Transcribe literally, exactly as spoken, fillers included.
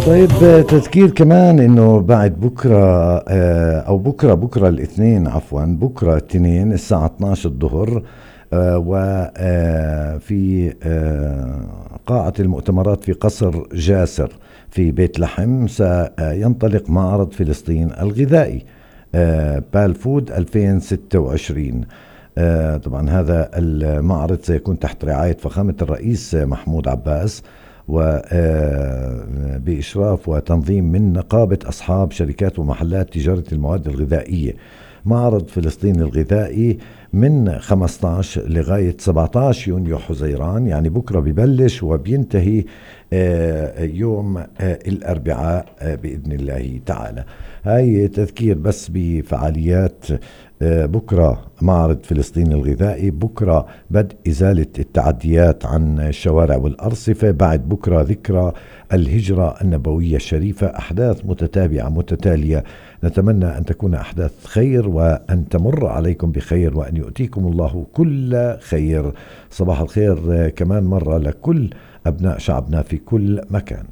طيب تذكير كمان انه بعد بكرة او بكرة بكرة الاثنين عفوا بكرة الاثنين الساعة اثناشر الظهر وفي قاعة المؤتمرات في قصر جاسر في بيت لحم سينطلق معرض فلسطين الغذائي بالفود ألفين وستة وعشرين. طبعا هذا المعرض سيكون تحت رعاية فخامة الرئيس محمود عباس وبإشراف وتنظيم من نقابة أصحاب شركات ومحلات تجارة المواد الغذائية. معرض فلسطين الغذائي من خمسة عشر لغاية سبعة عشر يونيو حزيران، يعني بكرة ببلش وبينتهي يوم الأربعاء بإذن الله تعالى. هاي تذكير بس بفعاليات بكرة معرض فلسطين الغذائي. بكرة بدء إزالة التعديات عن الشوارع والأرصفة. بعد بكرة ذكرى الهجرة النبوية الشريفة. أحداث متتابعة متتالية، نتمنى أن تكون أحداث خير وأن تمر عليكم بخير وأن يؤتيكم الله كل خير. صباح الخير كمان مرة لكل أبناء شعبنا في كل مكان.